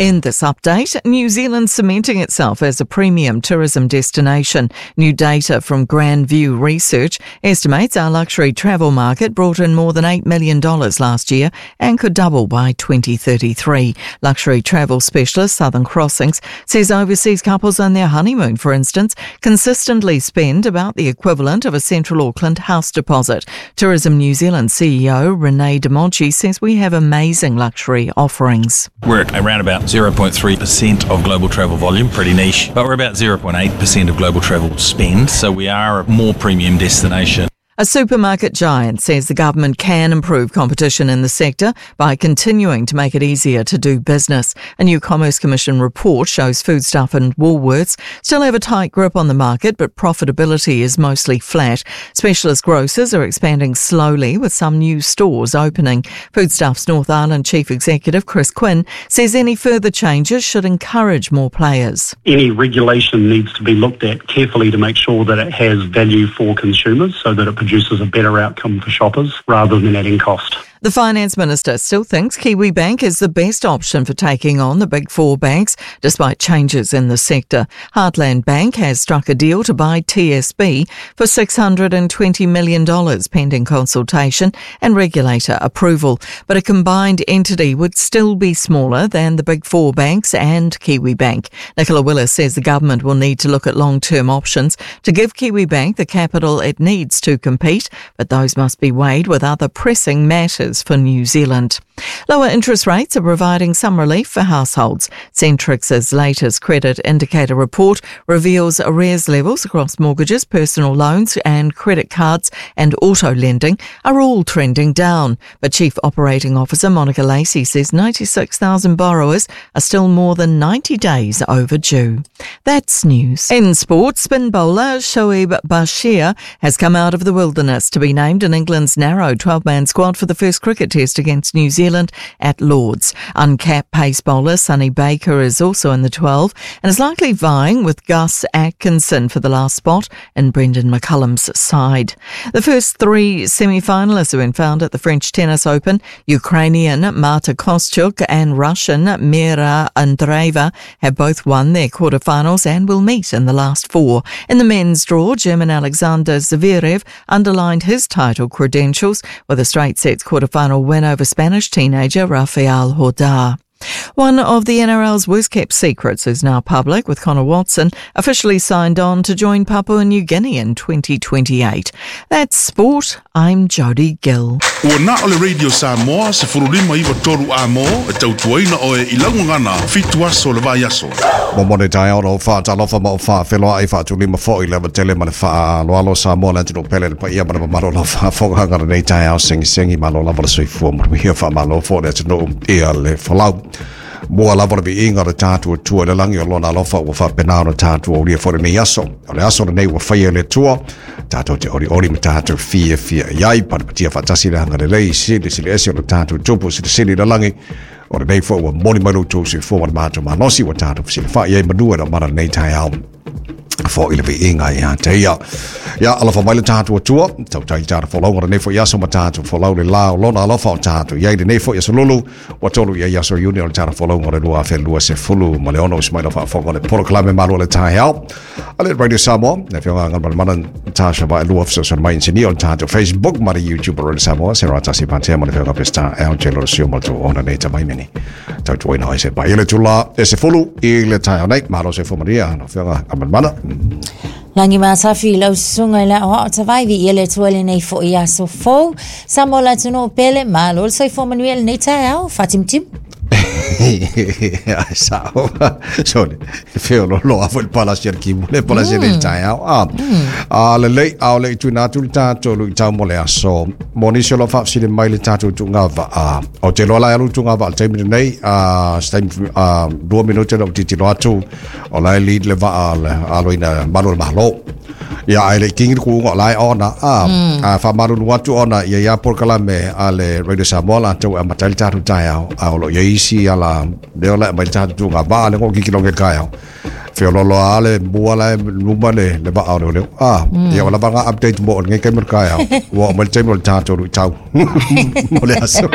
In this update, New Zealand cementing itself as a premium tourism destination. New data from Grand View Research estimates our luxury travel market brought in more than $8 million last year and could double by 2033. Luxury travel specialist Southern Crossings says overseas couples on their honeymoon, for instance, consistently spend about the equivalent of a central Auckland house deposit. Tourism New Zealand CEO Renee De Monchi says we have amazing luxury offerings. We're at around about 0.3% of global travel volume, pretty niche, but we're about 0.8% of global travel spend, so we are a more premium destination. A supermarket giant says the government can improve competition in the sector by continuing to make it easier to do business. A new Commerce Commission report shows Foodstuff and Woolworths still have a tight grip on the market, but profitability is mostly flat. Specialist grocers are expanding slowly with some new stores opening. Foodstuff's North Island Chief Executive Chris Quinn says any further changes should encourage more players. Any regulation needs to be looked at carefully to make sure that it has value for consumers so that it produces a better outcome for shoppers rather than adding cost. The finance minister still thinks Kiwibank is the best option for taking on the big four banks, despite changes in the sector. Heartland Bank has struck a deal to buy TSB for $620 million pending consultation and regulator approval. But a combined entity would still be smaller than the big four banks and Kiwibank. Nicola Willis says the government will need to look at long-term options to give Kiwibank the capital it needs to compete, but those must be weighed with other pressing matters for New Zealand. Lower interest rates are providing some relief for households. Centrix's latest credit indicator report reveals arrears levels across mortgages, personal loans and credit cards and auto lending are all trending down. But Chief Operating Officer Monica Lacey says 96,000 borrowers are still more than 90 days overdue. That's news. In sport, spin bowler Shoaib Bashir has come out of the wilderness to be named in England's narrow 12-man squad for the first cricket test against New Zealand at Lord's. Uncapped pace bowler Sonny Baker is also in the 12 and is likely vying with Gus Atkinson for the last spot in Brendan McCullum's side. The first three semi-finalists have been found at the French Tennis Open. Ukrainian Marta Kostyuk and Russian Mira Andreeva have both won their quarterfinals and will meet in the last four. In the men's draw, German Alexander Zverev underlined his title credentials with a straight sets quarterfinal win over Spanish teenager Rafael Jodar. One of the NRL's worst-kept secrets is now public, with Connor Watson officially signed on to join Papua New Guinea in 2028. That's sport. I'm Jodie Gill. Ua na o le Radio Samoa, se furulima iwa toru a mō, e tautuaina oe i laugagana, fitu aso le vai aso. Mo mone taeao o whaatalofa ma o whaawheloa i whaatulima fo i lewa tele ma le whaaloalo Samoa le atunu pele le paia ma le mamalo la whaafoganga le nei taeao sengi sengi malo lava le soifua mo le mihia whaamalo fo le atunu ia le folau. Mua lava le viiga le tatou Atua i le lagi o lona alofa ua faapena ona tatou aulia foi lenei aso. O le aso lenei ua faia e le Atua, tatou te olioli ma tatou fiafia i ai, patipatia faatasi le agalelei silisili ese o le tatou Tupu silisili i le lagi. O lenei foi ua momoli mai lo outou soifua ma le matou malosi ua tatou fesilafai ai manu e le omana lenei taeao fo i le viiga ia te ia. Ia, alofa mai le tatou Atua, tautai le tatou folauga lenei foi aso ma tatou folau le la o lona alofa o tatou iai lenei foi aso lulu, ua tolu i ai aso Iuni o le tatou folauga o le 2026, usi mai lau faafofoga le polokalame malu o le taeao. A le Radio Samoa, le afioga Galumalemana Tasha Vaelua fesoasoani mai inisinia o le tatou Facebook ma le YouTube o Radio Samoa, se ratasi patea ma le afioga Peseta LJ Lolosio ma le tou ona nei tamaimeni. Tautuaina ai se pai i le tula e se fulu i le taeao nei. Malo se fuamaria, lau afioga Galumalemana. Lagi Matafi, lau susuga i le aoao tavai, viia le Atua i lenei foi aso fou. Samoa le atunuu pele, malo le soifua manuia i lenei taeao, faatimutimu. Ai sao. Sole, feololo a foi le palasi a le kimu, le palasi a le taeao. A, a lelei, a o le i tuina atu le tatou luitau mo le aso. Mo nisi o lo o faafesili mai le tatou tuuga vaa. Ou te iloa la e alu le tuuga vaa i le taimi lenei, a, se taimi, a, 2 minute na ou tilotilo atu, o la e lead le vaa a le aloina malu o le Malo. Ia, ae le i kingi le kuuga o la e ona, a, a faamalulu atu ona ia ia polokalame a le Radio Samoa latou e amata ai le tatou taeao, a o lo o i ai isi ala lea o la e aumai le tatou tuuga vaa le tilotilo i le taeao. Feoloolo lava le mua la e luma le, le vaa o leoleo. A, ia ua lava ngā update mo o lenei taimi o le taeao. Ua oo mai le taimi o le tatou luitau mo le aso.